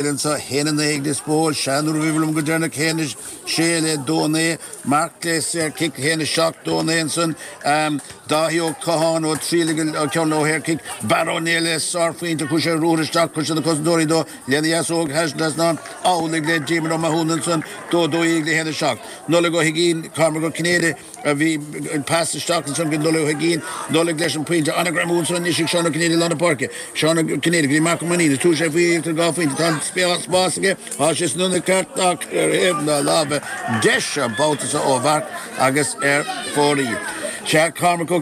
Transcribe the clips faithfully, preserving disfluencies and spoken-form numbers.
Anseo haon a naoi ag Lios Póil, sea nuair a bhí liom go deireanach haon a sé le dó a naoi, Marc le saor cic haon a seacht dó a naoi ansan, Dáithí Ó Catháin ó Traolaigh an ceann ó shaor cic, Barra Ó Néill le sárphointe, chuaigh sé ruathar isteach, chuir sé na cosantóirí dó lena dheasóg thar an trasnán, amhlaidh le Diarmuid Ó Mathúna ansan, dó dó dhéag le haon a seacht. Nollaig Ó hUiginn, Cormac Ó Cinnéide a bhí pas isteach ansan go Nollaig Ó hUiginn, Nollaig leis an bpointe, an-ghreamú ansan anois ag Seán Ó Cinnéide i lár na páirce, Seán Ó Cinnéide go dtí Marc Ó Mainnín, is tabharfaidh sé faoi iarracht ar dhá phointe, tá an spás aige, tá sé san ionad ceart ach ar thaobh na láimhe deise an babhta seo ó Mharc agus ar fóraoil. Sea, Cormac Ó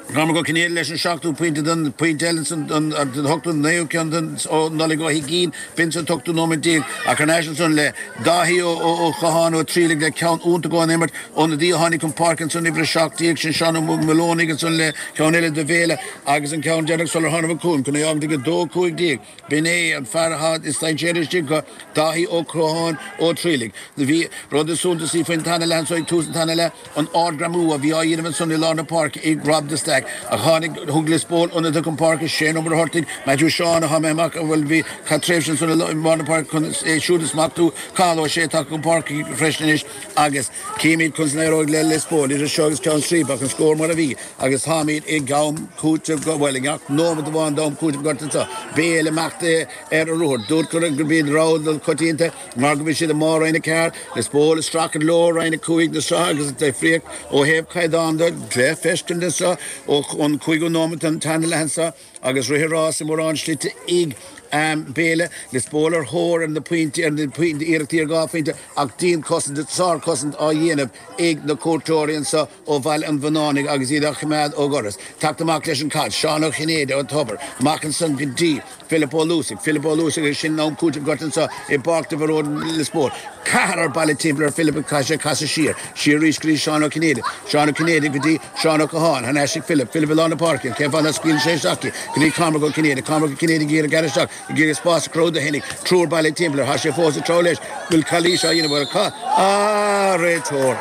Cormac Ó Cinnéide leis an seachtú pointe den pointe eile ansan den ochtú naoú ceann den ó Nollaig Ó hUiginn, b'in sa t-ochtú nóiméad déag ach thar n-ais ansan le Dáithí Ó Ó Catháin ó Traolaigh le ceann iontach ón imirt ionadaí a tháinig chun páirce ansan uimhir a seacht déag sin Seán Ó Muilleonaigh ansan le ceann eile do Bhéile agus an ceann deireanach sular tháinig chugam chun é a fhágaint ag a dó cúig déag. B'in é an fear atá is dainséaraí istigh acu, Dáithí Ó Catháin ó Traolaigh. Bhí rud is suntasaí faoin tarna leath anso ag tús an tarna leath, an ardghreamú a bhí á dhéanamh ansan i lár na páirce ag Rob de Staic. Ach tháinig, thug Lios Póil ionadaithe chun páirce, Shane Ó Muircheartaigh, Matthew Seán atá imithe amach, bhuel bhí, chaith tréimhse ansan i lár na páirce chun é siúd a smachtú, Cathal Ó Sé tagtha chun páirce freisin anois agus címid conas a éireoidh le Lios Póil idir seo agus ceann sríbe ach an scór mar a bhí agus táimid i gam cúitimh, bhuel i ngach nóiméad amháin d'am cúitimh gorta anseo. Béile imeacht ar a ruathar. Dúirt gurb iad rogha coitianta mar go bhfuil siad i mbarr Roinn a Ceathair, Lios Póil ag streachailt leo Roinn a Cúig na sraithe agus an difríocht ó thaobh caighdeán de le feiscint anseo ón cúigiú nóiméad den tarna leath anseo agus rith an rás i mórán slite ag Béile, Lios Póil ar thóir ar na pointí, ar na iarrachtaí ar dhá phointe ach dianchosaint, sárchosaint á dhéanamh ag na cuairteoirí anseo ó Bhaile an Bhunánaigh agus iad á choimeád ó dhoras. Teacht amach leis an chaid, Seán Ó Cinnéide ón Tobar, amach ansan go dtí Philip Ó Luasaigh, Philip Ó Luasaigh agus sin am cúitimh gorta anseo i bPáirc de Mhearóid Lios Póil. Ceathrar bailithe timpeall ar Philip agus caithfidh sé casadh siar, siar arís go dtí Seán Ó Cinnéide, Seán Ó Cinnéide go dtí Seán Ó Catháin, thar n-ais ag Philip, Philip i lár na páirce, cén fáth nach scaoileann sé isteach í, go dtí Cormac Ó Cinnéide, Cormac Ó Cinnéide ag iarraidh gearradh isteach, ag iarraidh spás a chruthú do fhéinig, triúr bailithe timpeall air, tá sé fós ag treabhadh leis, bhfuil calaois á dhéanamh air, ca, ah, réiteoir,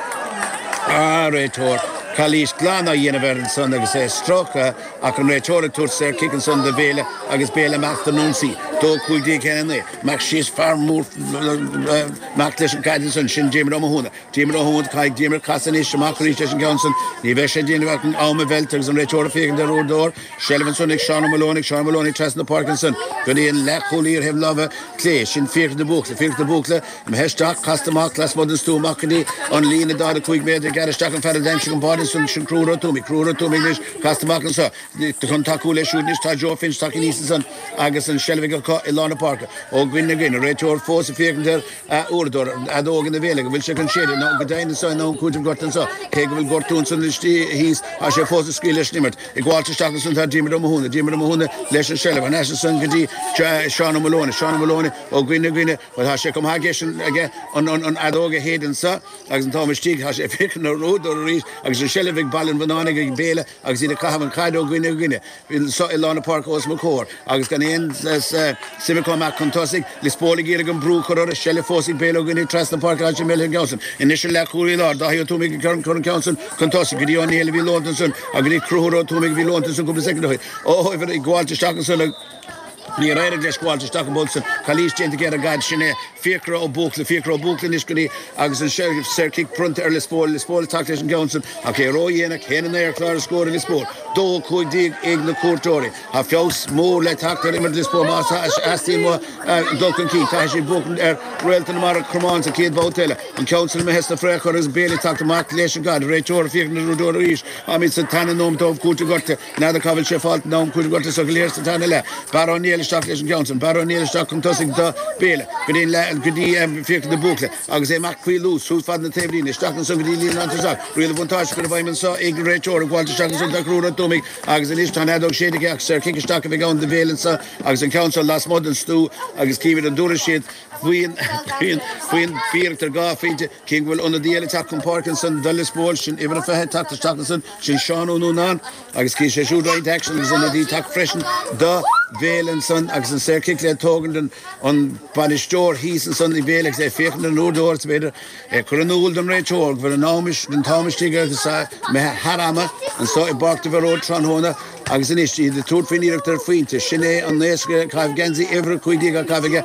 ah, réiteoir, calaois glan á dhéanamh air ansan agus é stróicthe ach an réiteoir ag tabhairt saor cic ansan do Bhéile agus Béile amach don ionsaí, dó cúig déag a haon a naoi, amach síos fear mór amach leis an gcaid ansan, sin Diarmuid Ó Mathúna. Diarmuid Ó Mathúna, caithfidh Diarmuid casadh anois amach arís leis an gceann san. Ní bheidh sé ag déanamh ach an am a mheilt agus an réiteoir ag féachaint ar uaireadóir. Seilbh ansan ag Seán Ó Muilleonaigh, Seán Ó Muilleonaigh trasna na páirce ansan go dtí an leathchúlaí ar thaobh na láimhe clé. Sin Fiachra de Búrcla, Fiachra de Búrcla imithe isteach, casta amach lasmuigh den stua amach go dtí an líne daichead a cúig méadar ag gearradh isteach an fear a d'aimsigh an báide ansan, sin Conchúr Ó Tuamaigh, Conchúr Ó Tuamaigh anois casta amach anso chun tacú leis siúd anois tá Joe Finch tagtha aníos ansan agus an seilbh acu i lár na páirce. Ó dhuine go duine, an réiteoir fós ag féachaint ar a uaireadóir, an fheadóg ina bhéal aige, an bhfuil sé chun séideadh? Nó go deimhin anseo in am cúitimh gorta anseo, cé go bhfuil gortú ansan istigh thíos, tá sé fós ag scaoileadh leis an imirt. Ag gabháilt isteach ansan tá Diarmuid Ó Mathúna, Diarmuid Ó Mathúna leis an seilbh, thar n-ais ansan go dtí Seán Ó Muilleonaigh, Seán Ó Muilleonaigh ó dhuine go duine, bhuel tá sé chomh maith aige aige an fheadóg a shéideadh anseo agus an t-am istigh, tá sé ag féachaint ar an uaireadóir arís agus an seilbh ag Baile an Bhunánaigh ag Béile agus iad ag caitheamh an chaid ó dhuine go duine. Anseo i lár na páirce os mo chomhair agus gan aon suim acu amach chun tosaigh. Lios Póil ag iarraidh an brú a chur orthu, seilbh fós ag Béile ó dhuine trasna páirce tá sé imithe an ceann san. Anois an leathchúlaí i lár, Dáithí Ó Tuamaigh ag cur an ceann san chun tosaigh go dtí Ó Néill a bhí leonta ansan agus go dtí Conchúr Ó Tuamaigh a bhí leonta ansan cúpla soicind ó shin. Ó ag gabháilt isteach ansan níor éirigh leis gabháilt isteach an babhta san. Calaois déanta aige ar an gcaid, sin é Fiachra Ó Buachalla, Fiachra Ó Buachalla anois go dtí agus an saor cic bronnta ar Lios Póil, Lios Póil ag teacht leis an gceann san ach é ródhéanach, haon a naoi ar chlár na scór ag Lios Póil. Dó a cúig déag ag na cuairteoirí. Tá feabhas mór le teacht ar imirt Lios Póil má theastaíonn uathu dul chun cinn. Caithfidh siad buachaint ar Réalta na Mara Cromán sa chéad bhabhta eile. An ceann san imithe sna friochair agus Béile ag teacht amach leis an gcaid. Réiteoir ag féachaint ar an uaireadóir arís. Táimid sa tarna nóiméad d'am cúitimh gorta. N'fheadar cá bhfuil sé fáilte in am cúitimh gorta so go léir sa tarna leath. Barra Ó Néill isteach leis an gceann san. Barra Ó Néill isteach chun tosaigh do Béile go dtí an go dtí Fiachra de Búrcla agus é amach faoi luas suas fad na taobhlíne isteach ansan go dtí líne lántosaigh. Riail an bhuntáiste curtha i bhfeidhm anso ag an réiteoir ag gabháilt isteach ansan tá Conchúr Ó Tuamaigh agus anois tá an fheadóg séidte aige ach saor cic isteach a bheidh ann do Bhéile anso agus an ceann seo lasmuigh den stua agus címid an dtabharfaidh siad faoin faoin iarracht ar dhá phointe. Cím go bhfuil ionadaí eile ag teacht chun páirce ansan do Lios Póil, sin uimhir a fiche ag teacht isteach ansan, sin Seán Ó Núnáin agus cífidh sé siúd roinnt aicsin agus ionadaí ag teacht freisin do Bhéile ansan agus an saor cic le tógaint an bainisteoir thíos ansan i Béile agus é ag féachaint ar an uaireadóir is b'fhéidir ag cur in iúl don réiteoir go bhfuil an am an t-am istigh agus imithe thar ama anso i bPáirc de Mhearóid tráthnóna. Agus anois iad ag tabhairt faoin iarracht ar phointe, sin é an naosc caitheamh geansaí uimhir a cúig déag á caitheamh aige.